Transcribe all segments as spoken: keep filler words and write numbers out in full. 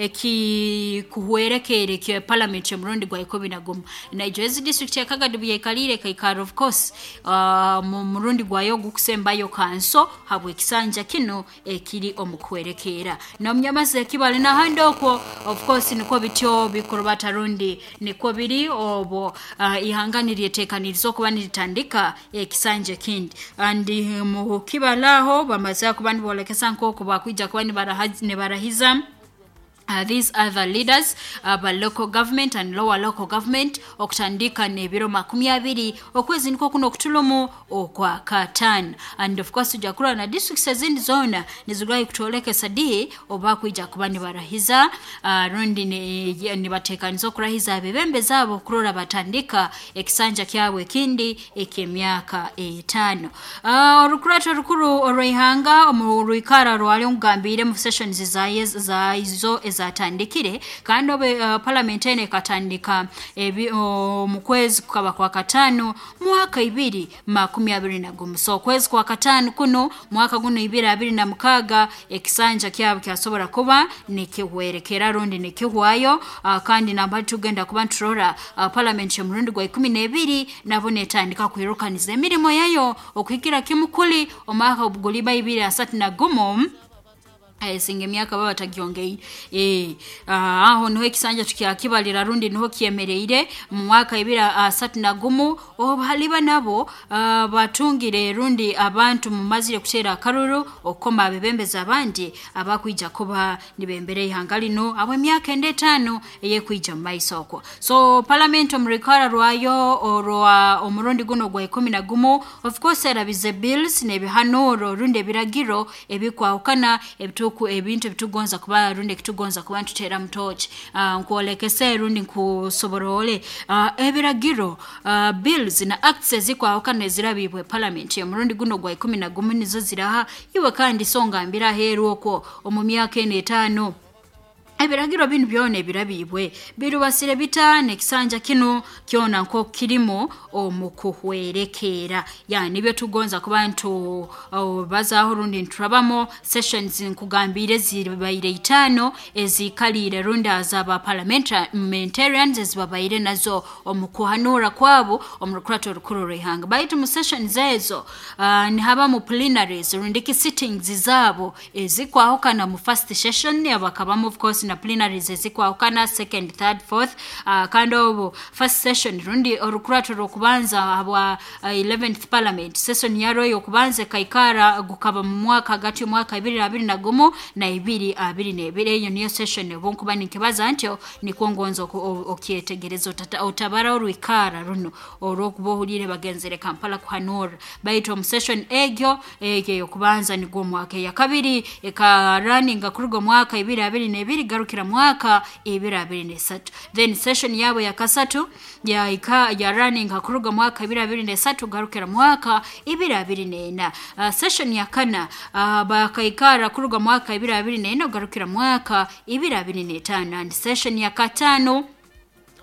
Ekikuhwerekere kya parliament y'omurundi gwa ikumi na gumu. Naijo ezi district ya Kagadi byaikaliire kaikara, of course, uh, mu murundi gwayo gukusembayo kanso habwe ekisanja kino ekiri omu kuhwerekera n'omunyamazi ekibali n'ahandi okwo. Of course, nikwo bityo bikurubata rundi nikwo biri obwo uh, ihanga niryetekaniriza okuba niritandika ekisanja ekindi. And mu kibalaho bamaze kuba nibolekesa nk'oku bakwija kuba nibaraha- nibarahiza Uh, these other leaders uh, ba local government and lower local government okutandika n'ebiro makumi abiri okwezi nikwo kuno okutulumu okwa kataano. And of course, tujja kurora na districts ezindi zoona nizigwayo kutwolekesa di oba kwija kuba nibarahiza uh, rundi ni- nibateekaniza okurahiza abebembe zaabo kurora batandika ekisanja kyabwe ekindi eky'emyaka etaano. uh, orukurato rukuru orw'ihanga omu rwikara rwali nkugambire mu sessions zaye zaizo ezatandikire kandi obe uh, parliament eno ekatandika ebi- mu kwezi kukaba kwa kataano mwaka ibiri makumi abiri na gumu. So okwezi kwa kataano kuno mwaka guno ibiri abiri na mukaaga ekisanja kyabo kyasobora kuba nikihwerekera rundi nikihwayo. uh, kandi namba tugenda kuba nturora uh, parliament y'omurundi gwa ikumi n'ebiri nabo netandika kwirukaniza emirimo yayo okuhikira kimu kuli omwaka guliba ibiri asatu na gumu. Esinga emyaka baba batagyongeire. eh ah, aho niho ekisanja tukyakibalira rundi niho kyemereire mu mwaka ibiri asatu na gumu, obu haliba nabo ah, batungire rundi abantu mumazire kuteera akaruru okukoma abebembezi abandi abakwija kuba nibembera ihanga lino abo emyaka enda etaano eyekwija mu maiso okwo. So parliament omu rukara rwayo orwa omurundi guno gwa ikumi na gumu, of course, erabize bills n'ebihanuro rundi ebiragiro ebikwahukana ebituku ebintu ebitugonza kuba rundi ekitugonza kuba ntuteera mutoki. uh, nkwolekese rundi nkusoborole uh, ebiragiro, uh, bills na acts ezikwahukana ezirabibwe parliament omurundi guno gwa ikumi na gumu nizo ziraha iwe. Kandi so ngambira aheeru okwo omu myaka eno etaano ebiragiro binu byona ebirabibwe birubasire bitaano ekisanja kino kyona nko kirimo omu kuhwerekera. Ya nibyo tugonza kuba ntu uh, bazaaho rundi nturabamu sessions. Nkugambire zibaire itaano ezikaliire rundi azaba parliamentarians ezibabaire nazo omu kuhanura kwabo omu rukurato orukuru rw'ihanga. Baitu mu sessions ezo uh, nihabamu plenaries rundi ki sittings zaabo ezikwahukana. Mu first session bakabamu, of course, na plenaries ezikwahukana, second, third, fourth. uh, kandi obu first session rundi orukurato rw'okubanza bwa uh, eleventh parliament, session yaro y'okubanza ekaikara gukaba mu mwaka hagati y'omwaka ibiri abiri na gumu na ibiri abiri n'ebiri. Eyo niyo session obu nkuba ninkibaza ntyo nikwo ngonza oku- o- okyetegereza otata- otabara orwikara runo olw'okuba ohuriire bagenzere Kampala kuhanura. Baitu omu session egyo egyo ey'okubanza nigwo omwaka, eya kabiri ekaraninga kuruga omwaka ibiri abiri n'ebiri garukira mwaka ibiri abiri n'esatu. Then session yabo ya kasatu yaika ya running kuruga mwaka ibiri abiri n'esatu garukira mwaka ibiri abiri n'ena. uh, session ya kana uh, bakaikara kuruga mwaka ibiri abiri n'ena garukira mwaka ibiri abiri n'etaano. And session ya katano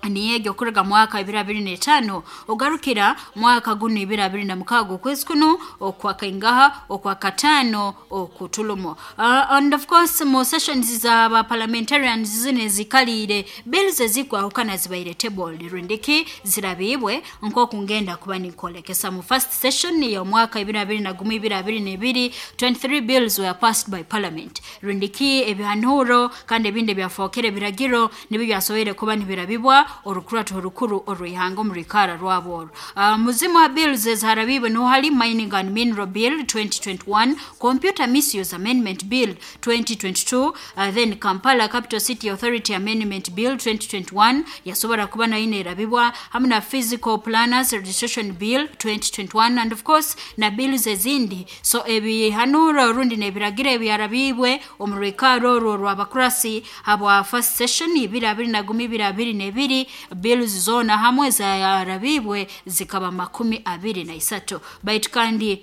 niyegyo okuruga mwaka ibiri abiri n'etaano ogarukira mwaka guno ibiri abiri na mukaaga okwezi kuno okwakaingaha okwa kataano okutulumo. uh, and of course, mu sessions za ba parliamentarians zino ezikaliire bills ezikwahukana zibaire tabled rundiki zirabibwe nk'oku ngenda kuba ninkolekesa. Mu first session y'omwaka ibiri abiri na gumu ibiri abiri n'ebiri, twenty-three bills were passed by parliament rundiki ebihanuro kandi ebindi ebyafookere ebiragiro nibyo byasoboire kuba nibirabibwa orukurato orukuru orw'ihanga omu rwikara rwabo orwo. uh, muzimu wa bills eziharabibwe niho hari Mining and Mineral Bill twenty twenty-one, Computer Misuse Amendment Bill twenty twenty-two, uh, then Kampala Capital City Authority Amendment Bill twenty twenty-one yasobora kuba nayo nerabibwa hamwe na Physical Planners Registration Bill twenty twenty-one, and of course na bills ezindi. So ebihanuro rundi n'ebiragiro ebyarabibwe omu rwikaro orwo rw'abakurasi habwa first session ibiri abiri na gumu ibiri abiri n'ebiri, bills zona hamwe zarabibwe zikaba makumi abiri na isatu. Baitu kandi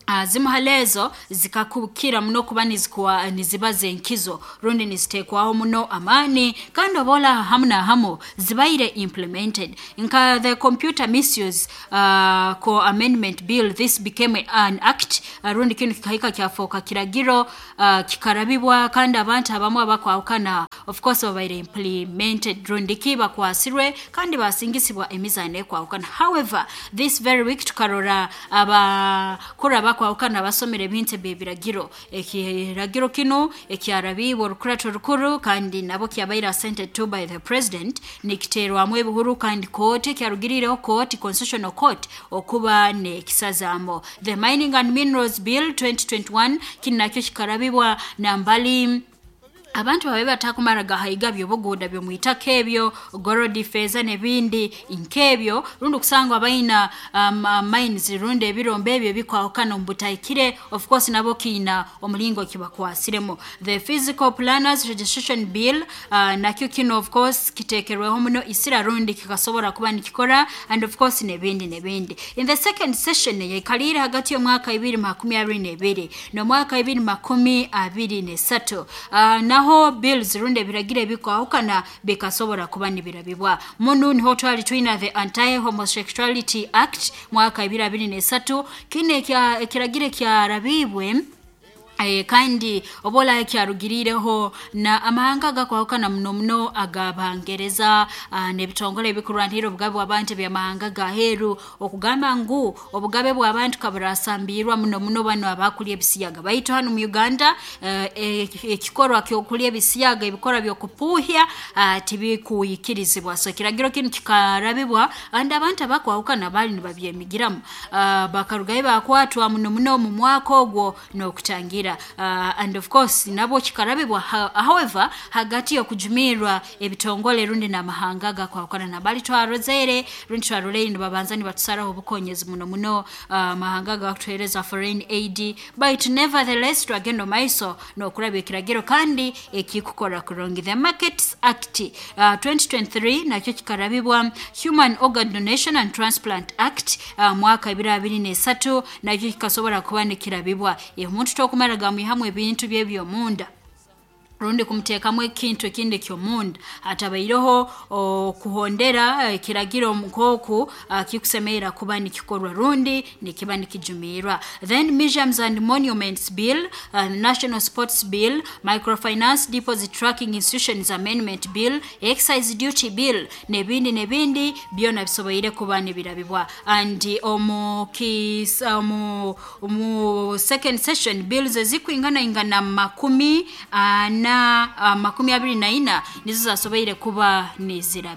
Uh, zimu halezo zikakukira muno kuba nizikuwa niziba zenkizo rundi nizitekwaho muno amani, kandi obola hamu na hamu zibaire implemented nka the Computer Misuse uh, ko Amendment Bill. This became an act, uh, rundi kinu kikahika kyafoka kiragiro, uh, kikarabibwa, kandi abantu abamu abakwahukana of course babaire implemented rundi ki bakwasirwe kandi basingisibwa emizano ekwahukana. However, this very week tukarora abakuru abakwahukana basomera ebintu ebyebiragiro, ekiragiro kinu ekyarabibwa orukurato rukuru, kandi nabo kyabaire assented to by the president, nikiterwamu ebihuru kandi kooti ekyarugirireho kooti, Constitutional Court, okuba nekisazaamo. The Mining and Minerals Bill twenty twenty-one, kinu nakyo kikarabibwa nambali abantu babe batakumara gahayiga byobuguda byomwitaka ebyo gorodi, feza n'ebindi nk'ebyo, rundi okusanga abaina um, uh, mines rundi ebirombe ebyo bikwahukana omu butahikire, of course nabo kiina omulingo kibakwasiremu. The Physical Planners Registration Bill, uh, nakyo kino of course kitekerweho muno isira rundi kikasobora kuba nikikora, and of course n'ebindi n'ebindi. In the second session yaikalire hagati y'omwaka ibiri makumi abiri n'ebiri n'omwaka ibiri makumi abiri n'esatu, uh, naho bills rundi ebiragiro ebikwahukana bikasobora kuba nibirabibwa. Munu niho twali twina the Anti Homosexuality Act mwaka ibiri abiri n'esatu. Kino ekiragiro kyarabibwe, Eh, kandi obola kyarugirireho na amahanga gakwahukana muno muno agabangereza, uh, n'ebitongole ebikurwanirira obugabe bw'abantu ebyamahanga gaheru okugamba ngu obugabe bw'abantu kaburasambirwa muno muno bano abakulya ebisiyaga. Baitu hano mu Uganda uh, ekikorwa kyokulya ebisiyaga, ebikorwa byokupuuhya, uh, tibikuyikirizibwa. So ekiragiro kinu kikarabibwa and abantu abakwahukana bali nibabyemigiramu, uh, bakarugayo bakwatwa muno muno mu mwaka ogwo n'okutangira, uh, and of course nabo kikarabibwa. However, hagati y'okujumirwa ebitongole rundi n'amahanga gakwahukana nabali twarozere rundi twaroleire nibabanza nibatusaraho obukonyezi muno muno, uh, amahanga gakutuhereza foreign aid, but nevertheless twagenda maiso n'okurabya ekiragiro kandi ekikukora kurungi. The Markets Act uh, twenty twenty-three nakyo kikarabibwa. Human Organ Donation and Transplant Act, uh, mwaka ibiri abiri n'esatu, nakyo kikasobora kuba nikirabibwa. Omuntu tokumara gamwihamu ebintu byebyomunda rundi kumuteekamu ekintu ekindi kyomunda atabaireho okuhondera ekiragiro nk'oku kikusemerera kuba nikikorwa rundi nikiba nikijumirwa. Then Museums and Monuments Bill, uh, National Sports Bill, Microfinance Deposit Tracking Institutions Amendment Bill, Excise Duty Bill n'ebindi n'ebindi byona bisoboire kuba nibirabibwa. And omu kis, omu, omu second session bills ezikwingana ingana makumi ana uh, makumi abiri na ina nizo zasoboire kuba nizirabibwa.